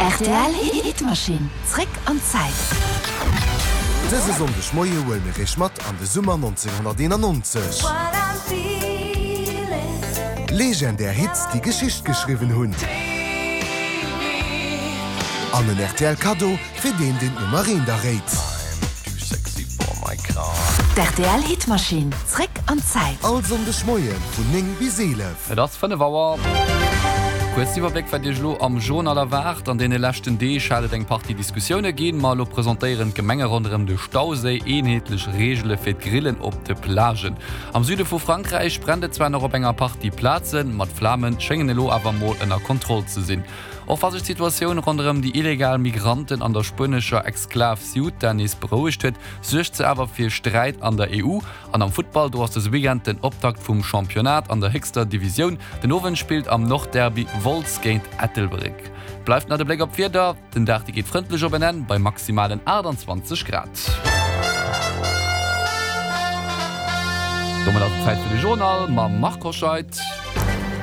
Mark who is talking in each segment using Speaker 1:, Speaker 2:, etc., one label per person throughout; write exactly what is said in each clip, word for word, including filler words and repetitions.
Speaker 1: Rtl Hitmaschinn, zréck an d'Zäit.
Speaker 2: Dëse Sonndeg Moie huele mir iech mat an de Summer nonzénghonnerteenannonzeg. Legendär Hits, déi Geschicht geschriwwen hunn. An en rtl Kaddo fir deen, deen d'Nummer eent erréit.
Speaker 1: D'RTL Hitmaschinn, zréck an d'Zäit.
Speaker 2: All Sonndeg Moie vun néng bis eelef.
Speaker 3: Et ass fënnef Auer. Kuerz Iwwerbléck wat Iech elo am Journal erwaart. An deene leschten Deeg hat et eng Partie Diskussioune ginn, ma elo presentéieren d'Gemenge ronderëm de Stauséi eenheetlech Reegele fir d'Grillen op de Plagen. Am Süde vu Frankräich brennt et zwar nach op enger Partie Plazen, ma d'Flame schéngen elo awer mol ënner Kontroll ze sinn. Och wa sech d'Situatioun ronderëm déi illegal Migranten an der spuenescher Exklav Ceuta nees berouegt huet, suergt se awer fir Sträit an der E U. An am Futtball, do ass dëse Weekend den Optakt vum Championnat an der héchster Divisioun. Den Owend spillt am Nordderby Wolz géint Ettelbréck. Bleift nach de Bléck op d'Wieder, Den Dag dee geet frëndlech op en Enn bei maximalen aachtanzwanzeg Grad. Domat ass et Zäit fir de Journal mam Marc Hoscheid.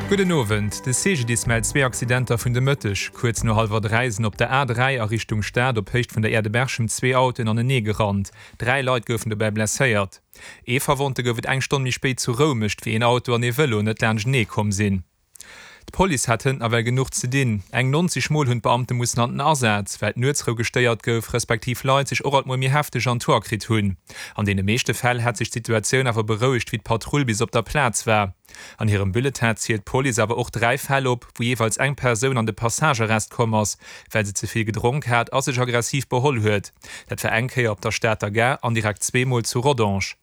Speaker 4: Gudden Owend. De C G D I S mellt zwee Accidenter vun de Mëtteg. Kuerz no hallwer dräi sinn op der A dräi a Richtung Stad op Héicht vun der Aire de Berchem zwee Autoen anenee gerannt. Dräi Leit goufen dobäi blesséiert. Ee Verwonnte gouf et eng Stonn méi spéit zu Roumecht, wéi een Auto an ee Vëlo net laanschtenee komm sinn. D'Police hat hënt nawell genuch ze dinn. Eng nonzeg Mol hunn d'Beamte mussen an den Asaz, well d'Nuetsrou gestéiert gouf, respektiv Leit sech och alt mol méi hefteg an d'Hoer kritt hunn. An deene meeschte Fäll hätt sech d'Situatioun awer berouegt, wéi d'Patrull bis op der Plaz war. An hirem Bulletin zielt d'Police awer och dräi Fäll op, wou jeeweils eng Persoun an de Passagearrest komm ass, well se ze vill gedronk hat a sech aggressiv beholl huet. Dat war eng Kéier op der Stater Gare an direkt zweemol zu Rodange.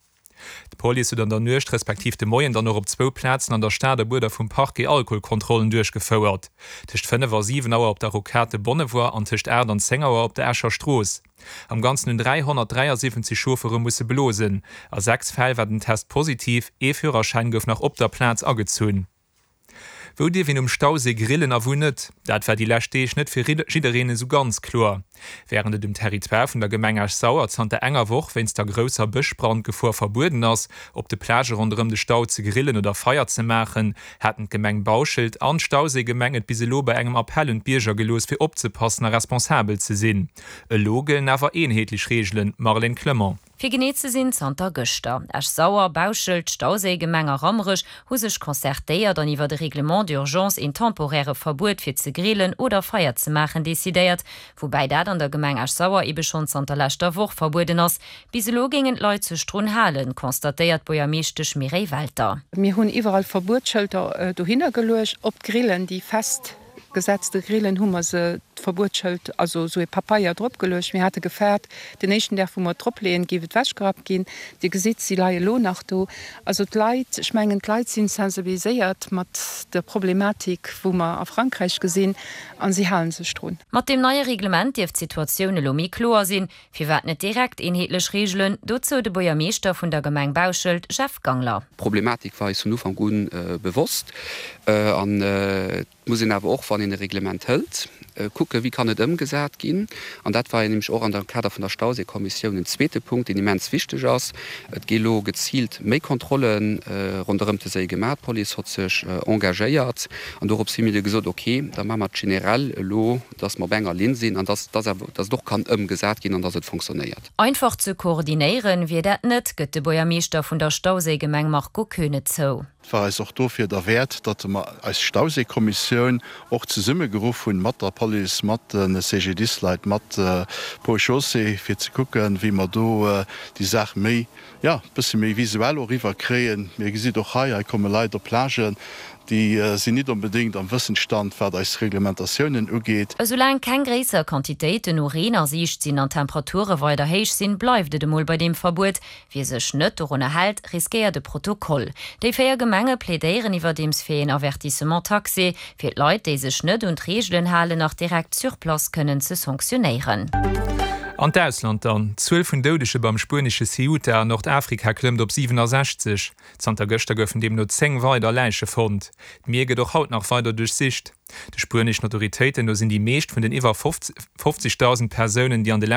Speaker 4: D'Police huet an der Nuecht respektiv de Moien dann och op zwou Plazen an der Stad a Buerder vum Parquet Alkoholkontrollen duerchgefouert. Tëscht fënnef a siwen Auer op der Rocade de Bonnevoie an tëscht aacht an zéng Auer op der Escher Strooss. Am Ganzen hunn dräihonnertdräiasiwwenzeg Chauffere musse blosen. A sechs Fäll war den Test positiv, ee Führerschäin gouf nach op der Plaz agezunn. Wou dierf een um Stauséi grillen a wou net? Dat war déi lescht Deeg net fir jiddereen esou ganz kloer. Wärend et um Territoire vun der Gemeng Esch-Sauer zanter enger Woch wéinst der grousser Bëschbrandgefor verbueden ass, op de Plagë ronderëm de Stau ze grillen oder Feier ze maachen, haten d'Gemeng Bauschelt an d'Stauséigemeng et bis elo bei engem Appell un d'Bierger gelooss, fir opzepassen a responsabel ze sinn. Elo gëllen awer eenheetlech Reegelen, Marlène Clement.
Speaker 5: Fir genee ze sinn zanter gëschter. Esch-Sauer, Bauschelt, Stauséigemeng a Rammerech hu sech concertéiert an iwwer de Règlement d'urgence een temporäre Verbuet fir ze grillen oder Feier ze maachen decidéiert, woubäi dat an der Gemeng Esch-Sauer ebe schonn zanter leschter Woch verbueden ass. Bis elo géingen d'Leit sech drun halen, constatéiert d'Buergermeeschtesch Mireille Welter.
Speaker 6: Mir hunn iwwerall Verbuetsschëlter dohinner geluecht, op d'Grillen, déi fest gesetzte Grillen hu mer se d'Verbuetsschëld, also esou ee Papeier drop geluecht. Mir hate gefaart, den éischten Dag wou mer et drop leeën, géif et ewechgerappt ginn. Dir gesitt, si leie lo nach do. Also d'Leit, ech mengen d'Leit sinn sensibiliséiert mat der Problematik wou mer a Frankräich gesinn a si hale sech drun.
Speaker 5: Mat deem neie Reglement dierft d'Situatioun elo méi kloer sinn. Firwat net direkt eenheetlech Reegelen? Dozou de Buergermeeschter vun der Gemeng Bauschelt, Jeff Gangler.
Speaker 7: D'Problematik war eis vun Ufank u bewosst an et muss een awer och, wann een e Reglement hëlt, kucken, wéi kann et ëmgesat ginn. An dat war jo nämlech och an der Kader vun der Stauséikommissioun en zweete Punkt, deen immens wichteg ass. Et gi elo geziilt méi Kontrolle ronderëm de Séi gemaach. D'Police hott sech engagéiert an dorops hu mir du gesot, okay, da maache mer et generell elo, dass mer op enger Linn sinn an dass, dass awer, dass et och kann ëmgesat ginn an dass et fonctionnéiert.
Speaker 5: Einfach ze koordinéieren wier dat net, gëtt de Buergermeeschter vun der Stauséigemeng Marco Koeune zou.
Speaker 8: Et war eis och dofir derwäert, datt mer eis Stauséikommissioun och zesummegeruff hunn mat der Police, mat de C G D I S-Leit, mat Ponts et Chaussées, fir ze kucken, wéi mer do déi Saach méi, jo, e bësse méi visuell och eriwwerkréien. Mir gesitt och hei, hei komme Leit op Plagen, déi sinn nit onbedéngt am Wëssensstand, wat eis Reglementatiounen ugeet.
Speaker 5: Esoulaang keng gréisser Quantitéiten u Reen a Siicht sinn an d'Temperature weider héich sinn, bleift et emol bei deem Verbuet. Wie sech net dorunner hält, riskéiert e Protokoll. Déi véier Gemenge plädéieren iwwerdeems fir een Avertissement taxé, fir d'Leit, déi sech net un d'Reegelen halen, nach direkt sur place kënnen ze sanktionéieren.
Speaker 4: An d'Ausland dann. D'Zuel vun Doudege beim spuenesche Ceuta an Nordafrika klëmmt op siwenesechzeg. Zanter gëschter goufen deemno zéng weider Läiche fonnt. D'Mier gëtt och haut nach weider duerchsicht. De spueneschen Autoritéiten no sinn déi meescht vun den iwwer fofzegdausend Persounen, déi an de leschten